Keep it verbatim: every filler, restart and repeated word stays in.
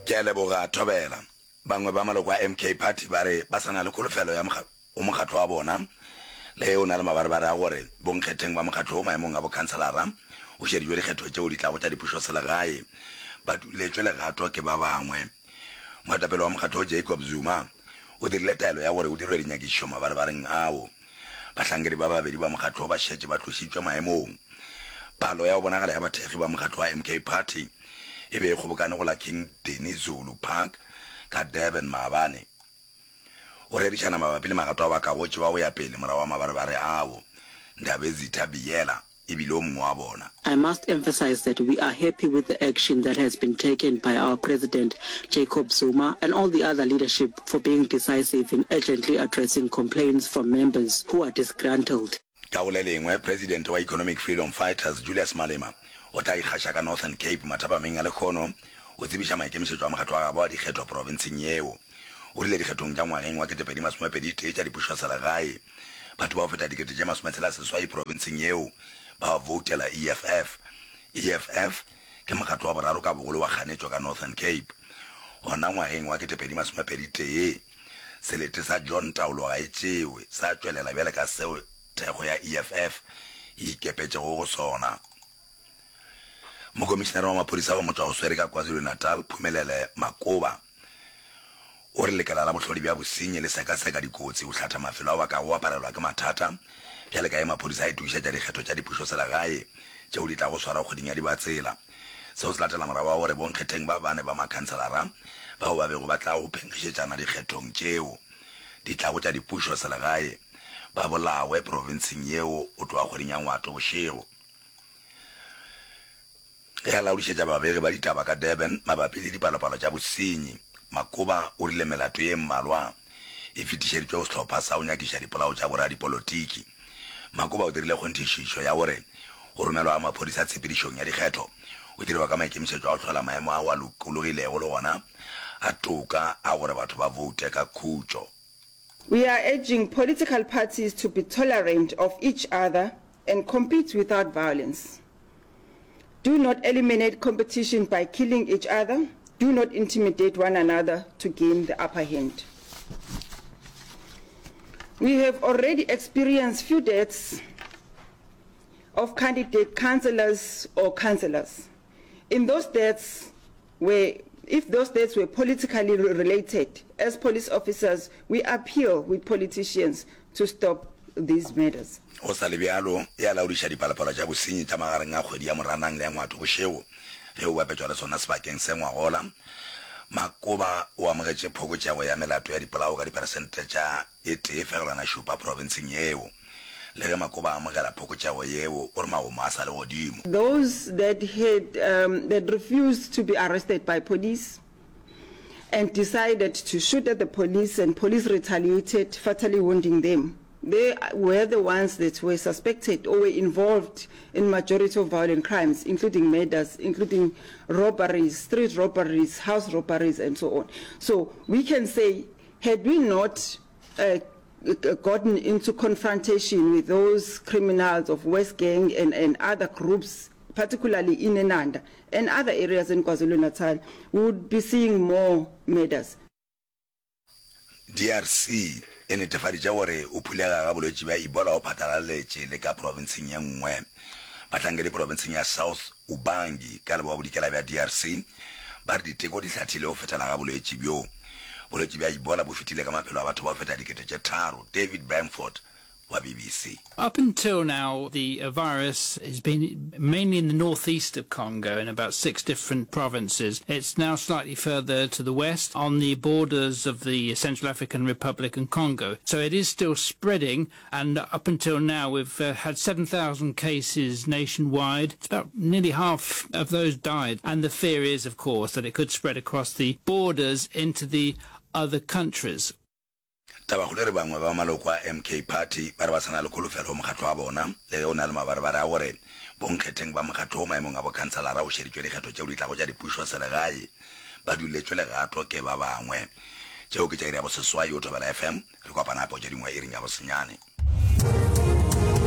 Ke a leboga, Thobela. Bangwe ba maloko a M K Party ba re ba sa na le kholofelo ya go mokgatlo wa bona le ge o na le mabarebare a gore bonkgetheng ba mokgatlo wo maemong a bokhanselara o šeditšwe dikgetho tšeo di tlago tša dipušoselegae ba duletšwe legato ke ba bangwe. Moetapele wa mokgatlo wo Jacob Zuma o dirile taelo ya gore o dirwe dinyakišišo mabarebareng ao. Bahlankedi ba babedi ba mokgatlo wo ba šetše ba tlošitšwe maemong. Palo ya go bonagala ya bathekgi ba mokgatlo wa M K Party e be e kgobokane go la King Dinizulu Park ka Durban maabane o rerišana mabapi le magato ao a kago tšewa go ya pele morago ga mabarebare ao. Ndabezitha Biyela e bile o mongwe wa bona. I must emphasize that we are happy with the action that has been taken by our President Jacob Zuma and all the other leadership for being decisive in urgently addressing complaints from members who are disgruntled. Ka go le lengwe, Presidente wa Economic Freedom Fighters Julius Malema o tla ikgaša ka Northern Cape mathapameng a lekgono o tsebiša maikemišetšo a mokgatlo wa gabo a dikgetho profenseng yeo. O rile dikgethong tša ngwageng wa ketepedi masomepedi tee tša dipušoselegae, batho ba go feta dikete tše masometshela seswai profenseng yeo ba voutela E F F. E F F ke mokgatlo wa boraro ka bogolo wa kganetšo ka Northern Cape. Gona ngwageng wa ketepedi masomepedi tee, selete sa John Taolo ga e tšewe sa tšwelela bjale ka seo thekgo ya E F F e ikepetšego go sona. Mokomišenare wa maphodisa wa motšwa-go-swere ka KwaZulu-Natal Phumelele Makoba o re lekala la bohlodi bja bosenyi le sekaseka dikotsi go hlatha mafelo ao a kago aparelwa ke mathata bjale ka ge maphodisa a itokišetša dikgetho tša dipušoselegae tšeo di tlago swarwa kgweding ya Dibatsela. Seo se latela morago ga gore bonkgetheng ba bane ba makhanselara bao ba bego ba tla go phenkgišetšana dikgethong tšeo di tlago tša dipušoselegae ba bolawe profenseng yeo go tloga kgweding ya Ngwato bošego. Ge a laodišetša babegi ba ditaba ka Durban mabapi le dipalopalo tša bosenyi, Makoba o rile melato ye mmalwa e fetišeditšwe go sehlopha sa go nyakiša dipolao tša boradipolotiki. Makoba o dirile kgonthišišo ya gore go romelwa ga maphodisa tshepedišong ya dikgetho o dirwa ka maikemišetšo a go hlola maemo ao a lokologilego le gona a toka a gore batho ba voute ka khutšo. We are urging political parties to be tolerant of each other and compete without violence. Do not eliminate competition by killing each other. Do not intimidate one another to gain the upper hand. We have already experienced few deaths of candidate councillors or councillors. In those deaths, where if those deaths were politically related, as police officers, we appeal with politicians to stop these murders. Go sa le bjalo, e a laodiša dipalopalo tša bosenyi tša magareng a kgwedi ya Moranang le ya Ngwato bošego ge o bapetšwa le sona sebakeng se ngwagola. Makoba o amogetše phokotšego ya melato ya dipolao ka diperesente tša e tee fegelwana šupa profenseng yeo. Le ge Makoba a amogela phokotšego yeo, o re magomo a sa le godimo. Those that had um, that refused to be arrested by police and decided to shoot at the police, and police retaliated, fatally wounding them. They were the ones that were suspected or were involved in majority of violent crimes, including murders, including robberies, street robberies, house robberies, and so on. So we can say, had we not uh, gotten into confrontation with those criminals of West Gang and, and other groups, particularly in Inanda and other areas in KwaZulu-Natal, we would be seeing more murders. D R C e netefaditše gore o phulega ga bolwetši bja Ebola go phatlalaletše le ka profenseng ye nngwe. Bahlankedi profenseng ya South Ubangi ka leboa-bodikela bja D R C ba re diteko di hlathile go fetela ga bolwetši bjo. Bolwetši bja Ebola bo fetile ka maphelo a batho ba go feta dikete tše tharo. David Bamford wa B B C. Up until now, the uh, virus has been mainly in the northeast of Congo in about six different provinces. It's now slightly further to the west on the borders of the Central African Republic and Congo. So it is still spreading, and up until now, we've uh, had seven thousand cases nationwide. It's about nearly half of those died. And the fear is, of course, that it could spread across the borders into the other countries. Tabakgolo e re bangwe ba maloko a M K Party ba re ba sa na le kholofelo go mokgatlo wa bona le ge o na le mabarebare a gore bonkgetheng ba mokgatlo wo maemong a bokhanselara o šeditšwe dikgetho tšeo di tlago tša dipušoselegae ba duletšwe legato ke ba bangwe. Tšeo ke tša iri ya boseswai o Thobela F M. Re kopana gape go tše dingwe iring ya bosenyane.